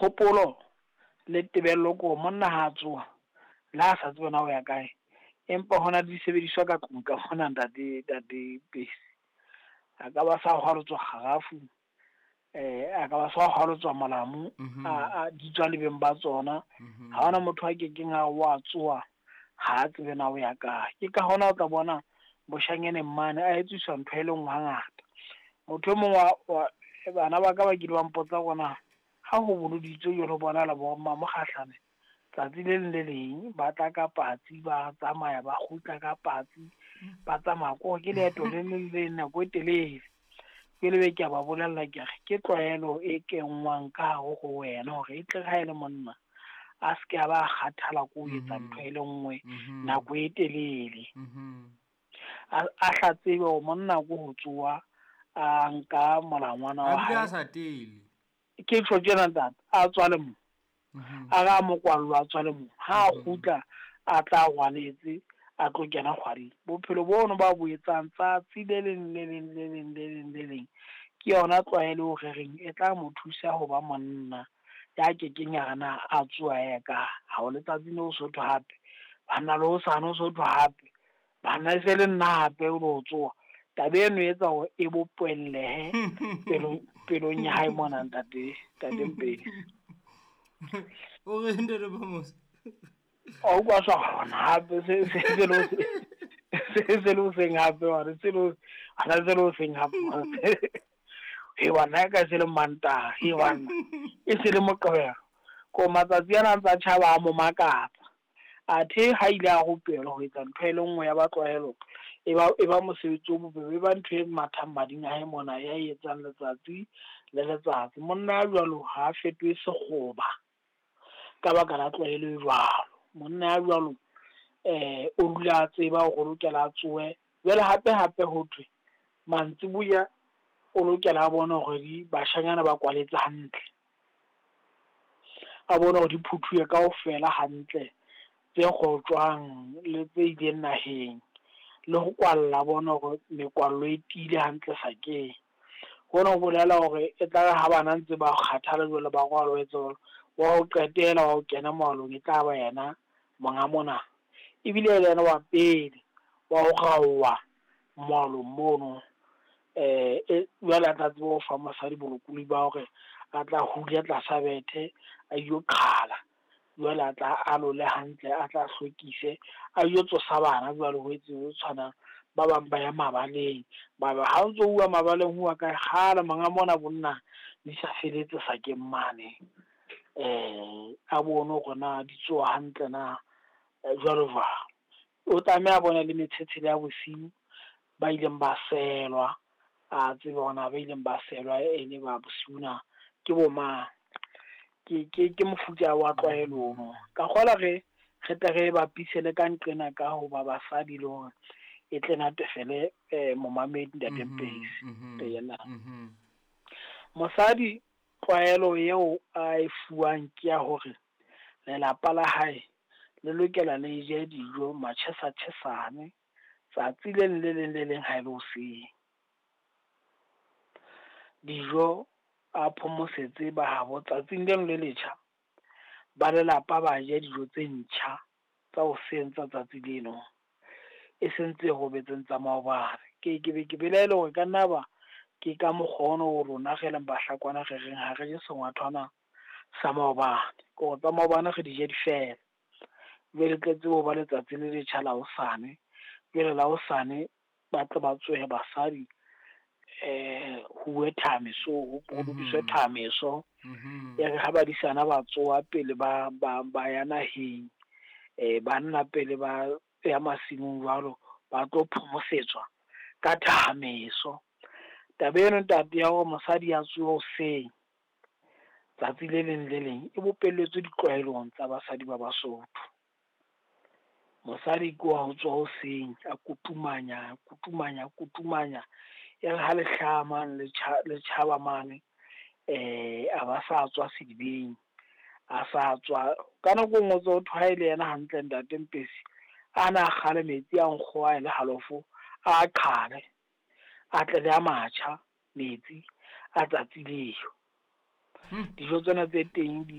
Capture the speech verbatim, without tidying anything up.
Kgopolo le tebello ko monna ha a tsoha le ha sa tsebe na o ya kae, empa hona le disebediswa ka tlung ka mona ntate ntate Pesi. A ka ba sa hwalotswa kgarafu, eh a ka ba sa hwalotswa molamu, Mhm. a a di tswa le beng ba tsona. Mhm. Ha hona motho a kekeng a wa tsoha ha a tsebe na o ya kae. Ke ka hona o tla bona boshanyaneng mane a etsiswa ntho e le nngwe hangata. Motho e mong wa, wa bana ba ka ba kile ba mpotsa hore na ha ho boloditswe jwalo ho bonahala bo mmamokgahlane tsatsi le leng le leng ba tla ka patsi, ba tsamaya ba kgutla ka patsi, ba tsamaya ko ke leeto le leng le nako e telele. Ke lebe ke a ba bolella ke re ke tlwaelo e kenngwang ka hare ho wena hore e tle ha e le monna a se ke a ba kgathala ko ho etsa Mhm. ntho e le nngwe Mhm. nako e telele. Mhm. A a hla tsebe hore monna ko ho tsoha a nka molangwana A wa bile a hae. sa tele. Ke tjho tjena ntate, a tswa le mo. Mhm. A ra mokwallo a tswa le mo. Ha a Mhm. kgutla a tla rwaletse a tlo kena kgwading. Bophelo bono ba bo etsang tsatsi le leng le leng le leng le leng le leng ke yona tlwaelo eo re reng e tla mo thusa ho ba monna ya kekeng ya re na a tsoha a ya kae. Ha o letsatsi le ho sotho hape, banna le hosane ho sotho hape, banna e se le nna hape o lo tsoha. Taba eno e etsa hore e bopellehe pelong pelong ya hae mona ntate ntate Mpedi. O re ntate Phamose? O utlwa sa hona hape se se se lo se se lo seng hape wa re se lo ana se lo seng hape. He bana ka se le Mantaha, he bana e se le Moqebelo. Ko matsatsi ana a ntsa tjhaba a mo makatsa. Athe ha ile a rupelwa ho etsa ntho e le nngwe ya ba tlwaelo, e ba e ba mosebetsi o bobebe, e ba ntho e mathang mading a hae mona ya e etsang letsatsi le letsatsi. Monna ya jwalo ha a fetohe sekgoba ka baka la tlwaelo e jwalo. Monna ya jwalo eh o dula a tseba hore o lokela a tsohe. Jwale hape hape ho thwe mantsiboya o lokela a bone hore di bashanyana ba kwaletse hantle. A bone hore di phuthuwe kaofela hantle tse kgotjwang le tse ileng naheng, le ho kwalla bona hore mekwallo e tiile hantle sakeng. Hona ho bolela hore e tla re ha bana ntse ba kgathala jwalo ba rwala ho etsa jwalo, wa ho qetela wa ho kena moalong e tla ba yena monga mona. Ebile le yena wa pele wa ho raoha moalong mono. Eh e jwale a tla tseba ho fa mosadi bolokolohi ba hore a tla hula tlasa bethe a ilo qhala. Jwale a tla alole hantle, a tla hlwekise, a yo tsosa bana jwale ho etse ho tshwanang. Ba bang ba ya mabaleng, ba ba ha o ntso uwa mabaleng ho uwa kae kgale monga mona bonna di sa feletse sakeng mane. Eh a bone hore na di tsoha hantle na jwalo jwalo. O tlameha a bone le metshetshe ya bosiu ba ileng ba selwa, a tsebe hore na ba ileng ba selwa e le ba bosiu na ke bo mang. Ke ke ke mofuta wa tlwaelo ono. Ka kgola re re tle re bapise le ka nqena ka ho ba basadi le hore e tle natefele eh momamedi ntate Mhm, Mpesi. mhm, Yena. mhm. Mosadi tlwaelo eo a e fuwang ke ya hore lelapa la hae le lokela le je dijo matjhesa tjhesane tsatsi le leng le leng le leng ha e le hoseng. Dijo a phomosetse ba habo tsatsing leno le letjha, ba lelapa ba je dijo tse ntjha tsa hoseng tsa tsatsi leno, e seng tse robetseng tsa maobane. Ke ke be ke belaele hore ka nna ba ke ka mokgwa ono o rona re leng Bahlakwana re reng ha re je sengwathwana sa maobane. Ke hore tsa maobane re di je di fela. Jwale tle tsebe ho ba letsatsi le letjha la hosane. Jwale la hosane ba tle ba tsohe basadi eh ho uwe thameso, ho lokiswe Mhm. thameso. Mhm. E re ha badisana ba tsoha pele ba ba ba ya naheng, eh banna pele ba ya masimong jwalo, ba tlo phomosetswa ka thameso. Taba eno ntate ya hore mosadi a tsohe hoseng tsatsi le leng le leng e bopelletswe ditlwaelong tsa basadi ba Basotho. Mosadi ke wa ho tswa hoseng a kutumanya, kutumanya, kutumanya. E re ha le hlaha mane le tjha le tjhaba mane, eh a ba sa tswa sedibeng, a sa tswa ka nako e nngwe o tso thwe ha e le yena hantle ntate Mpesi, a na kgale metsi a nkgo a le halofo a qhale, a tle le a matjha metsi a tsatsi leo. Dijo tsena tse teng di